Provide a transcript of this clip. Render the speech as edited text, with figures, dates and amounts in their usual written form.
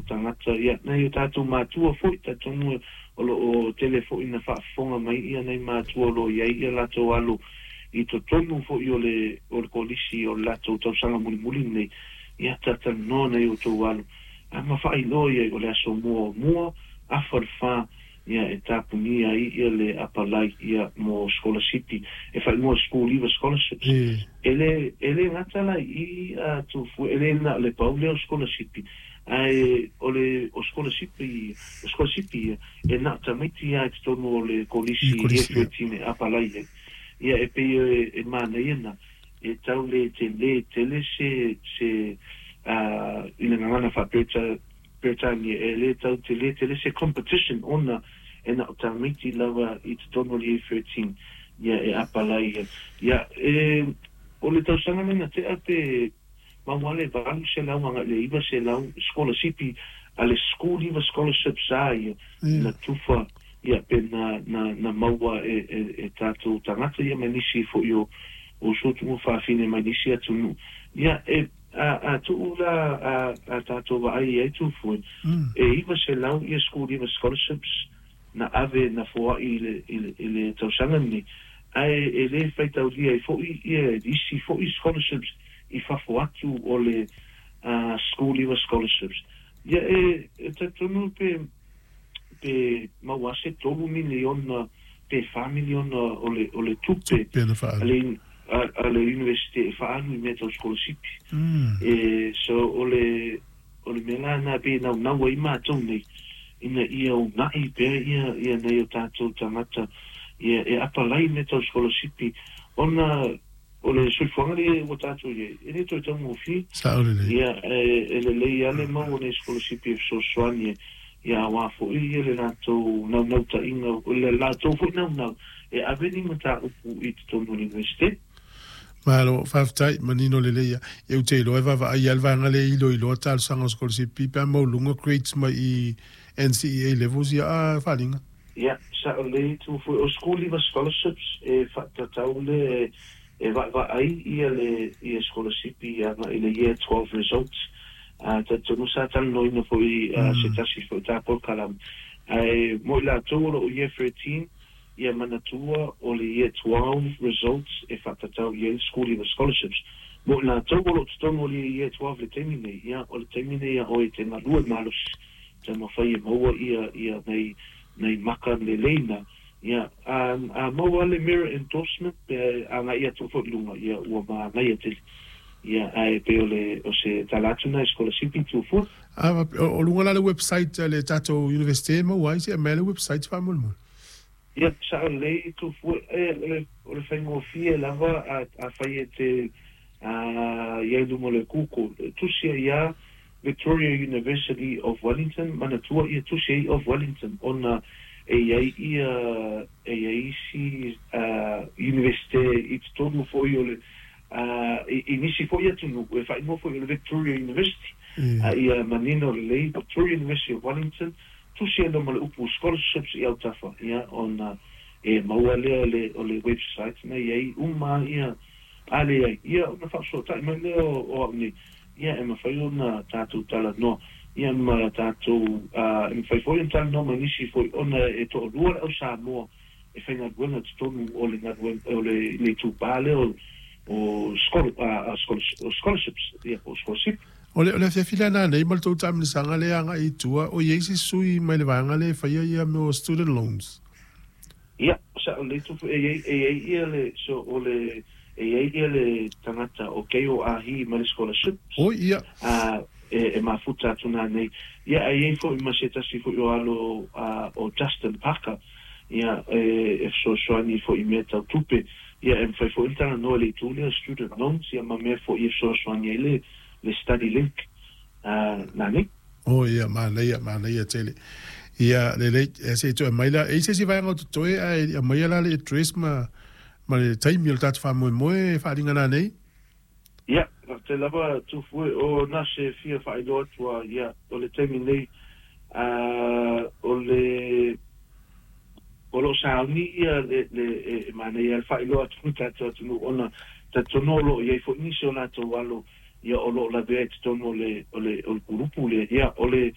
tagata, ia, nai o tatou matua foi, talitonu o lo o tele foi ina faafofoga mai ia nai matua o lo o i ai ia latou alo i totonu foi o le o le kolisi o le latou tausaga mulimuli lenei, ia, talatalanoa nai outou alo a ma faailoa i ai o le aso muamua afa le fa, ia, e tapunia ai ia le apalai, ia, mo sikolasipi e faaigoa School Leaver Scholarships. E le gata la i i Tufue, e le na o le pau lea o sikolasipi, ae o le o sikolasipi o sikolasipi ia e na o tamaiti lava i totonu o le I kolisi kolisi, Year ia. 13 e apalai ai. Ia, e pei e manaia na e tau le telē tele se i le gagana faa-Peretania, e lē tau telē tele se competition, ona e na o tamaiti lava i totonu o le Year 13, ia, e apalai ai. Ia, e o le tausaga lea na tea pe maua le 800 agai le 900 sikolasipi a le School Leaver Scholarships a ia na tufa, ia, pe na maua e tatou tagata, ia, ma nisi foi o uso tuafafine mai nisi atunuu. Ia, e a tuu la a tatou vaai ai, Tufue, e 900 ia School Leaver Scholarships na ave na foaʻi i le tausaga lenei, ae e lē faitaulia ai foʻi ia isi foʻi scholarships i fafo atu o le School Leaver Scholarships. Ia, e talitonu pe maua se 3 miliona pe 4 miliona o le tupe Tupe na a faalu. le university e faaalu i mea tau sikolasipi. E so o le mea la na pe naunau ai matou nei ina ia unaʻi pea ia nei o tatou tagata, ia, e apalai mea tau sikolasipi, ona o le soifuaga lea ua tatou iai e le toe taugofie. Sao lelei. Ia, e lelei lava le maua nei sikolasipi e fesoasoani, ia, auā foʻi ia le latou naunautaiga, o le latou foi naunau e ave ni mataupu i totonu o le universite. Malo, faafetai, manino lelei ia. E ou te iloa e vaavaai lava le vaega lea e iloiloa talosaga o sikolasipi pe a maualuga grades mai i NCEA levels, ia, a faaaliga. Ia, sao lelei, Tufue. O School Leaver Scholarships e faatatau le e vaavaai ia le ia sikolasipi agai le Year 12 results. Talitonu sa talanoaina foi se tasi foi ta polokalame, ae mo i latou o loo Year 13, ia manatua o le Year 12 results e faatatau i ai le School Leaver Scholarships. Mo i latou o loo totonu o le Year 12 le taimi nei, ia, o le taimi nei a oe te galue malosi taumafai e maua ia nai maka lelei na, ia, a maua le merit endorsement pe agai atu foi i luga, ia, ua manaia tele. Ia, ae pei o se tala atu na i sikolasipi, Tufue. A o luga la le website a le tatou universite e maua ai se mea le website faamolemole. Ia, sao lelei, Tufue. O le faigofie lava a fai e te iai luga o le Google, tusi ai ia Victoria University of Wellington. Manatua ia tusi ai of Wellington, ona e iai ia e iai isi universite i totonu foi o le i nisi foi atunuu e faaigoa foi o le Victoria University. A ia manino lelei, Victoria University of Wellington, tusi ai ma le upu scholarships i autafa, ia, ona e maua lea o le website na iai uma. Ia, a leai, ia, ona faasoatai mai lea o au nei, ia, e mafai ona tatou talanoa, ia, ma tatou e mafai foi ona talanoa mai nisi foi, ona e toalua le au Samoa e faigaluega totonu o le galuega o le itupa lea o scholarships, ia, po o scholarship. O le afiafi lea nanei ma le tou taamilosaga lea agai i tua, o iai se sui mai le vaega lea e faia ia mea o student loans? Ia, sao lelei, Tufu. E iai ia le so o le e iai ia le tagata o kei o ahi ma le scholarships. Oi, ia. A e mafuta atu nanei, ia, a iai foi ma se tasi foi o alo o Justin Parker, ia, e fesoasoani foi i mea tau tupe. Ia, e mafai foi le talanoa le itu lea student loans, ia, ma mea foi e fesoasoani ai le study link nanei. O ia, manaia, manaia tele. Ia, lelei, e se toe mai la, e se si vaega o totoe, ae aumaia la le address ma le taimi o le tatou faamoemoe e faaaliga nanei. Ia, te lava, Tufue. O na se fia faailoa atu a, ia, o le taimi nei o le o lo o sauni ia le e manaia le faailoa atu tatou atunuu, ona talitonu o lo o iai foi nisi o latou alo, ia, o lo o lavea i totonu o le kulupu lea, ia, o le